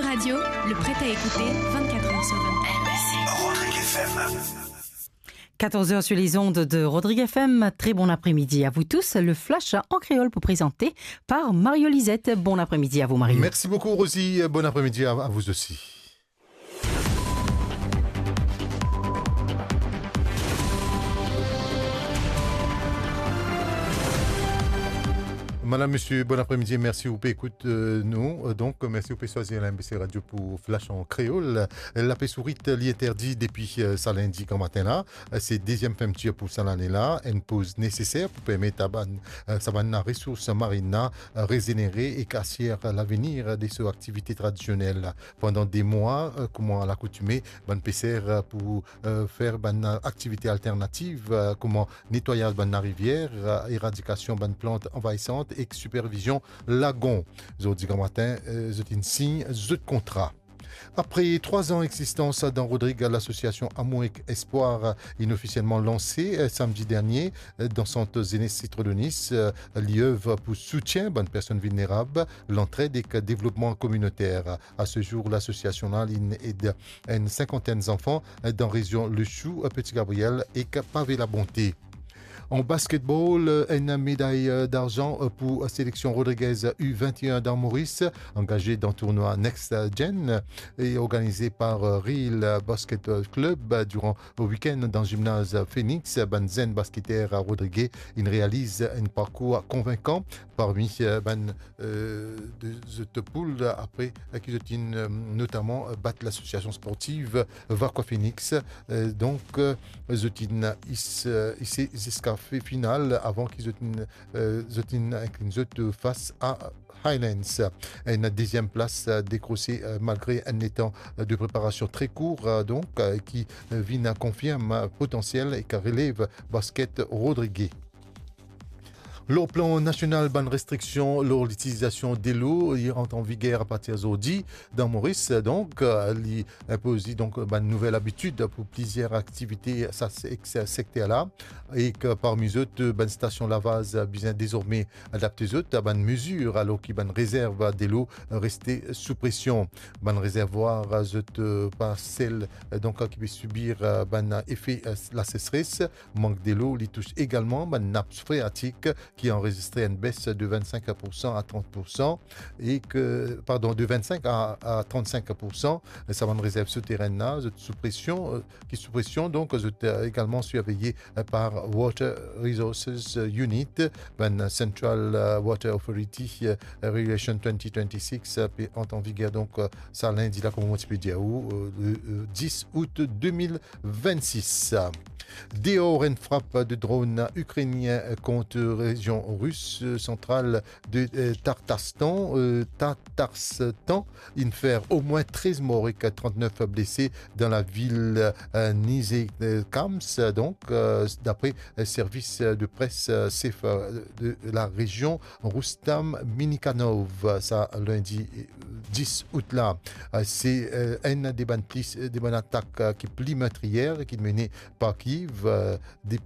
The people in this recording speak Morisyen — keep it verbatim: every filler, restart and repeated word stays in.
Radio, le prêt à écouter vingt-quatre heures sur vingt-quatre. Rodrigue F M. Quatorze heures sur les ondes de Rodrigue F M. Très bon après-midi à vous tous. Le flash en créole pour présenter par Mario Lisette. Bon après-midi à vous, Mario. Merci beaucoup, Rosie. Bon après-midi à, à vous aussi. Madame, monsieur, bon après-midi, mersi ou pe ekout, euh, nou. Euh, donk, mersi ou pe swazir L M B C Radio pou Flash an Kreol. Lapes Ourit, li interdi depi, euh, sa lindi gramatin la. Euh, se deziem fermtir pou sa lane la. Enn poz neseser pou permet a bann, euh, sa bann resours marin la, euh, rezenere ek asir lavenir de so aktivite tradisionel. Pandan de mwa, euh, kouma lakoutime, bann peser, euh, pou, euh, fer bann aktivite alternativ, euh, kouma netwayaz bann larivier, euh, eradikasion bann plant anvayisan ek sipervizion lagon. Zordi gramatin, euh, zot inn sign zot kontra. Apre trwa an egzistans, Dan Rodrig, lasosiasion Amour ek Espwar inn ofisielman lanse, euh, samdi dernie, euh, dan sant zenes Citro de Nice. Euh, li ev pou soutien bann personn vilnerab, lantred ek devlopman kominoter. A se zour, lasosiasion la, li inn ed enn sinkantenn zanfan dan rezion Le Chou, Petit Gabriel ek Pavé la Bonté. An basketball, enn meday darzan pou seleksion rodrigez U vingt et un dan Moris, angaze dan tournwa Next Gen e organize par Real Basket Club. Duran wikenn dan zimnaz Phoenix, bann zenn basketer rodrige inn realiz enn parkour konvinkan parmi, eh, bann, eh, de zot poul apre, eh, ki zot inn, eh, notaman, eh, bat lasosiasion sportiv Vacqua Phoenix. Eh, donk, eh, zot inn is-, eh, ise ziska fi-, final avan ki zot inn, eh, zot inn inklin zot fas a Highlands. Enn deziem plas, eh, dekrose, eh, malgre enn letan, eh, de preparasion tre kour, eh, donk, eh, ki, eh, vinn konfirm, eh, potansiel ek relev basket rodrige. Lor plan nasional, bann restriksion lor litilizasion delo, li rant an viger apartir zordi dan Moris. Donk, eh, li inpoz li, donk, bann nouvel abitid pou plizier aktivite sa sek-, sa sekter la. Ek parmi zot, bann stasion lavaz bizin dezorme adapte zot a bann mezir, alor ki bann rezerv delo reste sou presion. Bann rezervwar zot, eh, pa sel, eh, donk, ki pe sibir, eh, bann efe, eh, laseseres. Mank delo, li tous egalman bann nap freatik ki anrezistre enn bes de vingt-cinq pour cent à trente pour cent e ke, pardon, de vingt-cinq à, à trente-cinq pour cent. Sa bann rezerv souterenn la, zot sou presion, eh, ki sou presion, donk, zot, eh, egalman sirveye, eh, par Water Resources, eh, Unit, bann Central, eh, Water Authority, eh, Regulation twenty twenty-six, eh, pe ant an viger, donk, eh, sa lindi la, kouma mo ti pe dir ou, eh, le, eh, dis out de mil vennsis. Deor enn frap de dron ikrenien kont rezion ris, eh, santral de, eh, Tartastan, eh, Tatarstan, inn fer omwin trez mor ek trant-nef blese dan lavil, eh, Nizhnekamsk, donk, eh, dapre, eh, servis, eh, de pres, eh, sef, eh, de larezion, Rustam Minikanov, sa lindi, eh, dis out la. Eh, se, eh, enn de bann plis, eh, de bann atak, eh, ki pli metriyer ki mene par Kiev, eh, de